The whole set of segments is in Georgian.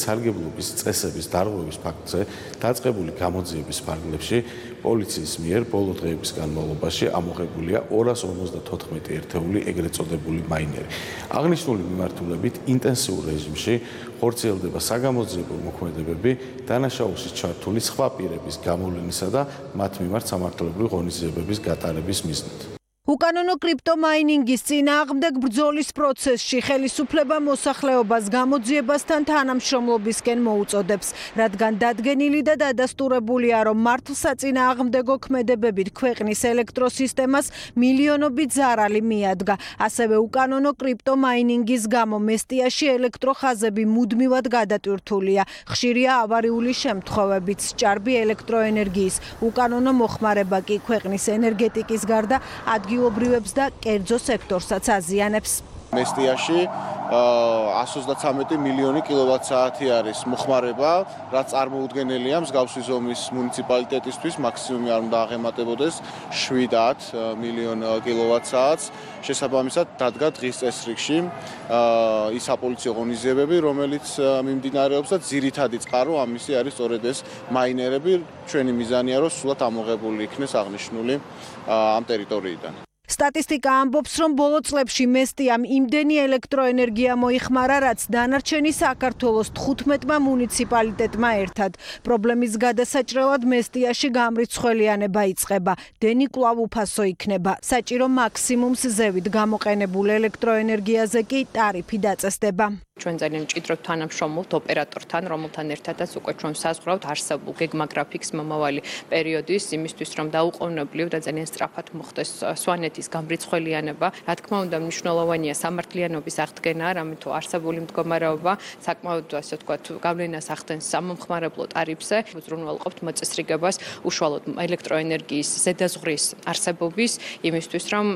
სარგებლობის წესების დარღვევის ფაქტზე დაწყებული გამოძიების ფარგლებში პოლიციის მიერ ბოლო დღეების განმავლობაში ამოღებულია 254 ერთეული ეგრეთ წოდებული მაინერი. აღნიშნული მიმართულებით ინტენსიურ რეჟიმში ხორციელდება საგამოძიებო მოქმედებები დანაშაულში ჩართული სხვა პირების გამოვლენისა და მათ მიმართ სამართლებრივი ღონისძიებების გატარების მიზნით. უკანონო კრიპტომაინინგის წინააღმდეგ ბრძოლის პროცესში ხელისუფლება მოსახლეობას გამოძიებასთან თანამშრომლობისკენ მოუწოდებს, რადგან დადგენილი და დადასტურებულია, რომ მართლსაწინააღმდეგო ქმედებებით ქვეყნის ელექტროსისტემას მილიონობით ზარალი მიადგა. ასევე უკანონო კრიპტომაინინგის გამო მესტიაში ელექტროხაზები მუდმივად გადატვირთულია. ხშირია ავარიული შემთხვევებიც, ჭარბი ელექტროენერგიის უკანონო მოხმარება კი ქვეყნის ენერგეტიკის გარდა ადგილობრივებს და კერძო სექტორსაც აზიანებს. მესტიაში 133 მილიონი კილოვატ-საათი არის მოხმარება, რაც წარმოუდგენელია მსგავსი ზომის მუნიციპალიტეტისთვის, მაქსიმუმი არ უნდა აღემატებოდეს 7 მილიონ კილოვატ-საათს. შესაბამისად დადგა დღის წესრიგში ის საპოლიციო ღონისძიებები, რომელიც მიმდინარეობს და ძირითადი წყარო ამისი არის სწორედ ეს მაინერები. ჩვენი მიზანია, რომ სულად ამოღებული იქნეს აღნიშნული ამ ტერიტორიიდან. სტატისტიკა ამბობს, რომ ბოლო წლებში მესტიამ იმდენი ელექტროენერგია მოიხმარა, რაც დანარჩენი საქართველოს 15 მუნიციპალიტეტმა ერთად. პრობლემის გადასაჭრელად მესტიაში გამრიცხველიანება იწყება. დენი კვლავ უფასო იქნება. საჭირო მაქსიმუმს ზევით გამოყენებულ ელექტროენერგიაზე კი ტარიფი დაწესდება. ჩვენ ძალიან მჭიდროდ თანამშრომლობთ ოპერატორთან, რომელთან ერთადაც უკვე ჩვენ საზღვრავთ არსებულ გეგმაგრაფიკს მომავალი პერიოდის იმისთვის, რომ დაუყოვნებლივ და ძალიან სწრაფად მოხდეს სვანეთის გამრიცხველიანება. რა თქმა უნდა, მნიშვნელოვანია სამართლიანობის აღდგენა, რამე თუ არსებული მდგომარეობა საკმაოდ ასე ვთქვათ, გავლენას ახდენს სამომხმარებლო ტარიფზე. უზრუნველყოფთ მოწესრიგებას უშუალოდ ელექტროენერგიის ზედაზღვრის არსებობის იმისთვის, რომ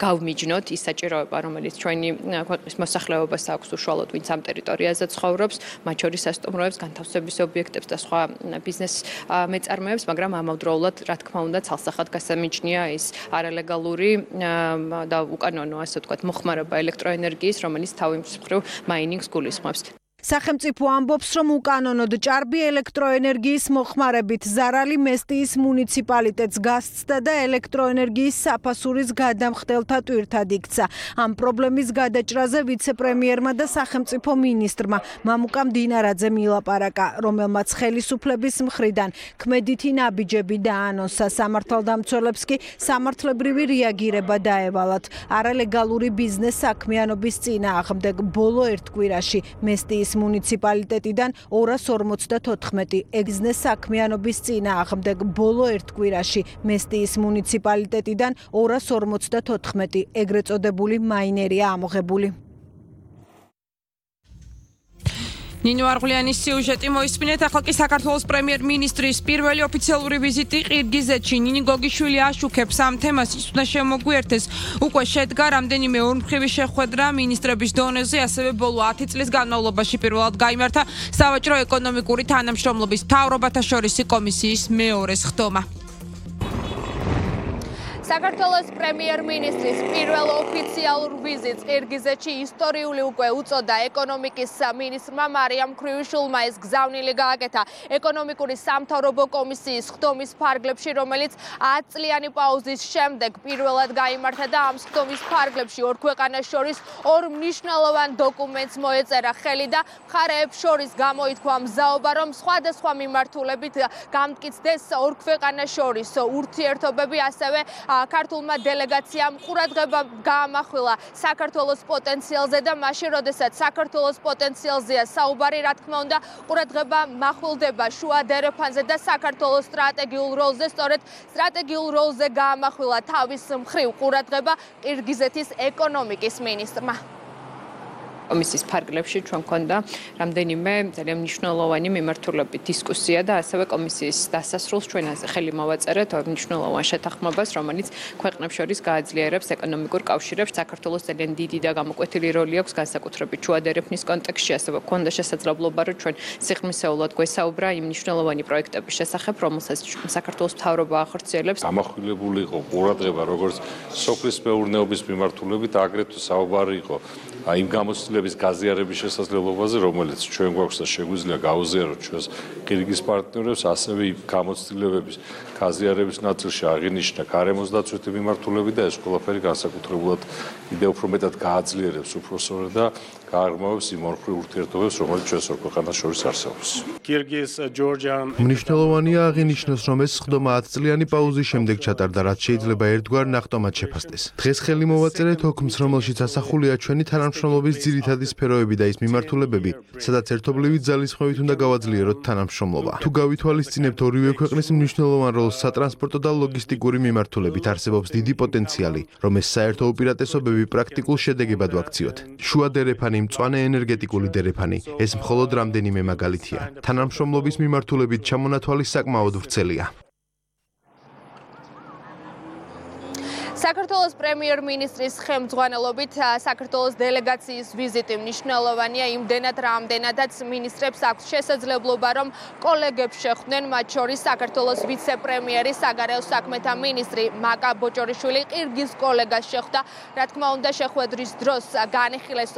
გავმიჯნოთ ის საჭიროება, რომელიც ჩვენი ქვეყნის მოსახლეობას აქვს უშუალოდ ვინც ამ ტერიტორიაზე ცხოვრობს, მათ შორის სასტუმროებს, განთავსების ობიექტებს და სხვა ბიზნეს მეწარმეებს, მაგრამ ამავდროულად, რა თქმა უნდა, ცალსახად გასამიჯნია ის არალეგალური და უკანონო, ასე ვთქვათ, მოხმარება ელექტროენერგიის, რომელიც თავის მხრივ მაინინგს გულისხმობს. სახელმწიფო ამბობს, რომ უკანონოდ ჭარბი ელექტროენერგიის მოხმარებით ზარალი მესტიის მუნიციპალიტეტს გასცდა და ელექტროენერგიის საფასურის გადამხდელთა ტვირთად იქცა. ამ პრობლემის გადაჭრაზე ვიცე-პრემიერმა და სახელმწიფო მინისტრმა მამუკა მდინარაძემ ილაპარაკა, რომელმაც ხელისუფლების მხრიდან ქმედითი ნაბიჯები დაანონსა. სამართალდამცველებს კი სამართლებრივი რეაგირება დაევალათ. არალეგალური ბიზნეს საქმიანობის წინააღმდეგ ბოლო ერთ კვირაში მესტიის მუნიციპალიტეტიდან 254 ბიზნეს საქმიანობის წინააღმდეგ ბოლო ერთ კვირაში მესტიის მუნიციპალიტეტიდან 254 ეგრეთ წოდებული მაინერია ამოღებული. ნინო არღლიანის სიუჟეტი მოისმინეთ. ახლა კი საქართველოს პრემიერ-მინისტრის პირველი ოფიციალური ვიზიტი ყირგიზეთში. ნინი გოგიშვილი აშუქებს ამ თემას, ის უნდა შემოგვიერთეს. უკვე შედგა რამდენიმე ორმხრივი შეხვედრა მინისტრების დონეზე, ასევე ბოლო 10 წლის განმავლობაში პირველად გაიმართა სავაჭრო ეკონომიკური თანამშრომლობის მთავრობათა შორისი კომისიის მეორე სხდომა. საქართველოს პრემიერ-მინისტრის პირველ ოფიციალურ ვიზიტს ყირგიზეთში ისტორიული უკვე უწოდა ეკონომიკის მინისტრმა მარიამ ქრივიშვილმა. ეს გზავნილი გააკეთა ეკონომიკური სამთავრობო კომისიის სხდომის ფარგლებში, რომელიც 10 წლიანი პაუზის შემდეგ პირველად გაიმართა და ამ სხდომის ფარგლებში ორ ქვეყანას შორის ორ მნიშვნელოვან დოკუმენტს მოეწერა ხელი და მხარეებს შორის გამოითქვა მზაობა, რომ სხვადასხვა მიმართულებით გამტკიცდეს ორ ქვეყანას შორის ურთიერთობები, ასევე ქართულმა დელეგაციამ ყურადღება გაამახვილა საქართველოს პოტენციალზე და მაშინ, როდესაც საქართველოს პოტენციალზეა საუბარი, რა თქმა უნდა, ყურადღება მახვილდება შუა დერეფანზე და საქართველოს სტრატეგიულ როლზე. სწორედ სტრატეგიულ როლზე გაამახვილა თავის მხრივ ყურადღება ყირგიზეთის ეკონომიკის მინისტრმა. კომისიის ფარგლებში ჩვენ გვქონდა რამდენიმე ძალიან მნიშვნელოვანი მიმართულებით დისკუსია და ასევე კომისიის დასასრულს ჩვენ ხელი მოვაწერეთ მნიშვნელოვან შეთანხმებას, რომელიც ქვეყნებს შორის გააძლიერებს ეკონომიკურ კავშირებს. საქართველოს ძალიან დიდი და გამოკვეთილი როლი აქვს განსაკუთრებით შუა დერეფნის კონტექსტში, ასევე გვქონდა შესაძლებლობა, რომ ჩვენ სიღრმისეულად გვესაუბრა იმ მნიშვნელოვანი პროექტების შესახებ, რომელსაც საქართველოს მთავრობა ახორციელებს. ამახვილებული იყო ყურადღება როგორც სოფლის მეურნეობის მიმართულებით, აგრეთვე საუბარი იყო იმ გამოცდილების გაზიარების შესაძლებლობაზე, რომელიც ჩვენ გვაქვს და შეგვიძლია გავუზიაროთ ჩვენს ყირგიზ პარტნიორებს, ასევე იმ გამოცდილებების გაზიარების ნაწილში აღინიშნა გარემოს დაცვითი მიმართულები და ეს ყველაფერი განსაკუთრებულად კიდევ უფრო მეტად გააძლიერებს უფროსօრ და გააღრმავებს იმ ორხრივ ურთიერთობებს, რომელიც ჩვენს ორ ქვეყანას შორის არსებობს. მნიშვნელოვანია აღინიშნოს, რომ ეს სხდომა 10 წლიანი პაუზის შემდეგ ჩატარდა, რაც შეიძლება ერთგვარ ნახტომად შეფასდეს. დღეს ხელი მოვაწერეთ ოქმს, რომელშიც ასახულია ჩვენი თანამშრომლობის ძირითადი სფეროები და ის მიმართულებები, სადაც ერთობლივი ძალისხმევით უნდა გავაძლიეროთ თანამშრომლობა. თუ გავითვალისწინებთ ორივე ქვეყნის მნიშვნელოვან როლს სატრანსპორტო და ლოგისტიკური მიმართულებით, არსებობს დიდი პოტენციალი, რომ ეს საერთო უპირატესობები პრაქტიკულ შედეგებად ვაქციოთ. შუა დერეფანი, მწვანე ენერგეტიკული დერეფანი, ეს მხოლოდ რამდენიმე მაგალითია. თანამშრომლობის მიმართულებით ჩამონათვალი საკმაოდ ვრცელია. საქართველოს პრემიერ-მინისტრის ხელმძღვანელობით საქართველოს დელეგაციის ვიზიტი მნიშვნელოვანია იმდენად, რამდენადაც მინისტრებს აქვს შესაძლებლობა, რომ კოლეგებს შეხვდნენ, მათ შორის საქართველოს ვიცე-პრემიერი, საგარეო საქმეთა მინისტრი მაკა ბოჭორიშვილი ყირგიზ კოლეგას შეხვდა. რა თქმა უნდა, შეხვედრის დროს განიხილეს